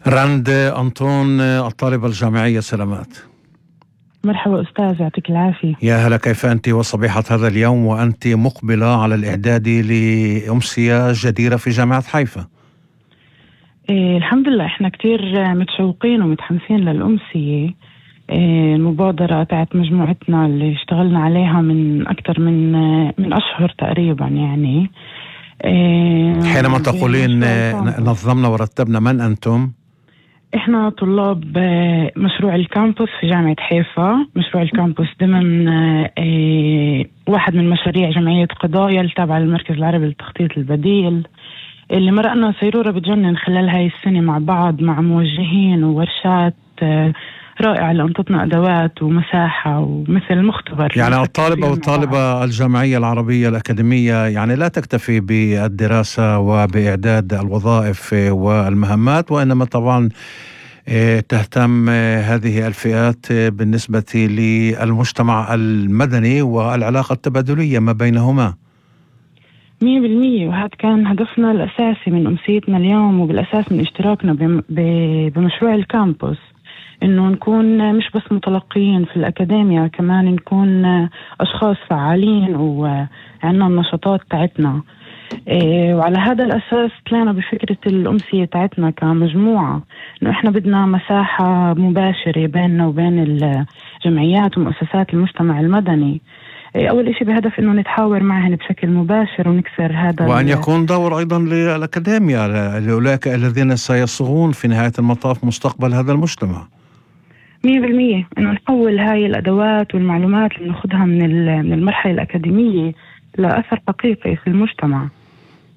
راند أنطون، الطالبة الجامعية، سلامات. مرحبا أستاذ، يعطيك العافية. يا هلا، كيف أنت وصبيحة هذا اليوم وأنت مقبلة على الإعداد لأمسية جديرة في جامعة حيفا؟ الحمد لله، إحنا كتير متشوقين ومتحمسين للأمسية. المبادرة تاعت مجموعتنا اللي اشتغلنا عليها من أكتر من أشهر تقريبا يعني. حينما تقولين نظمنا ورتبنا، من أنتم؟ إحنا طلاب مشروع الكامبوس في جامعة حيفا. مشروع الكامبوس ضمن واحد من مشاريع جمعية قضايا التابعة للمركز العربي للتخطيط البديل، اللي مرقنا سيرورة بتجنن خلال هاي السنة مع بعض، مع موجهين وورشات رائعة اللي أنطتنا أدوات ومساحة ومثل مختبر. يعني الطالبة والطالبة الجامعية العربية الأكاديمية يعني لا تكتفي بالدراسة وبإعداد الوظائف والمهمات، وإنما طبعا تهتم هذه الفئات بالنسبة للمجتمع المدني والعلاقة التبادلية ما بينهما. 100%، وهذا كان هدفنا الأساسي من أمسيتنا اليوم، وبالأساس من اشتراكنا بمشروع الكامبوس، إنه نكون مش بس متلقيين في الأكاديمية، كمان نكون أشخاص فعالين وعنا النشاطات تاعتنا. وعلى هذا الأساس طلعنا بفكرة الأمسية تاعتنا كمجموعة، إنه إحنا بدنا مساحة مباشرة بيننا وبين الجمعيات ومؤسسات المجتمع المدني. أول إشي بهدف إنه نتحاور معهن بشكل مباشر ونكسر هذا، وأن يكون دور أيضا للأكاديمية لأولئك الذين سيصغون في نهاية المطاف مستقبل هذا المجتمع. 100%، إنه نحول هاي الأدوات والمعلومات اللي ناخدها من المرحلة الأكاديمية لأثر حقيقي في المجتمع.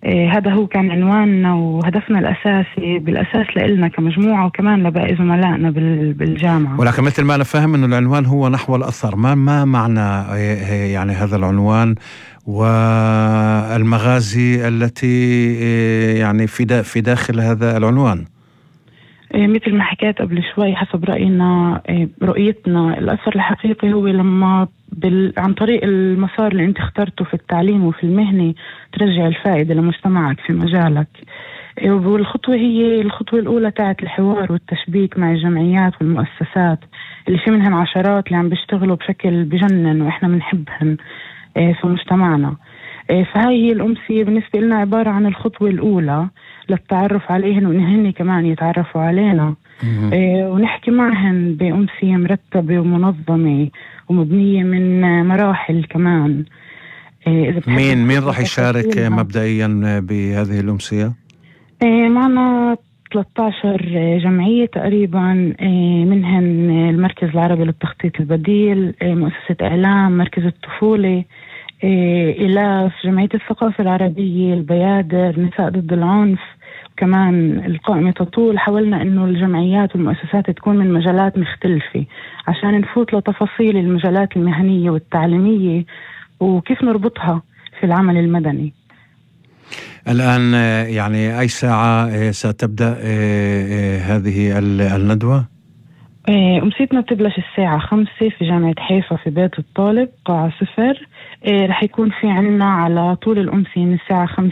هذا هو كان عنواننا وهدفنا الأساسي بالأساس لإلنا كمجموعة، وكمان لباقي زملائنا بالجامعة. ولكن مثل ما أنا فاهم أنه العنوان هو نحو الأثر. ما معنى يعني هذا العنوان والمغازي التي يعني في داخل هذا العنوان؟ مثل ما حكيت قبل شوي، حسب رؤيتنا الأثر الحقيقي هو لما عن طريق المسار اللي انت اخترته في التعليم وفي المهنة ترجع الفائدة لمجتمعك في مجالك. والخطوة هي الخطوة الأولى تاعت الحوار والتشبيك مع الجمعيات والمؤسسات اللي في منهن عشرات اللي عم بيشتغلوا بشكل بجنن وإحنا بنحبهن في مجتمعنا. فهاي هي الأمسية بالنسبة لنا عبارة عن الخطوة الأولى للتعرف عليهن، وإنهن كمان يتعرفوا علينا. ونحكي معهن بأمسية مرتبة ومنظمة ومبنية من مراحل كمان. مين راح يشارك مبدئيا بهذه الأمسية؟ معنا 13 جمعية تقريبا، منهن المركز العربي للتخطيط البديل، مؤسسة إعلام، مركز الطفولة، إلاف، جمعية الثقافة العربية، البيادر، نساء ضد العنف، وكمان القائمة تطول. حاولنا إنه الجمعيات والمؤسسات تكون من مجالات مختلفة عشان نفوت لتفاصيل المجالات المهنية والتعليمية وكيف نربطها في العمل المدني. الآن يعني أي ساعة ستبدأ هذه الندوة؟ أمسيتنا بتبلش الساعة 5 في جامعة حيفا في بيت الطالب قاعة 0. رح يكون في عنا على طول الأمسية من الساعة 5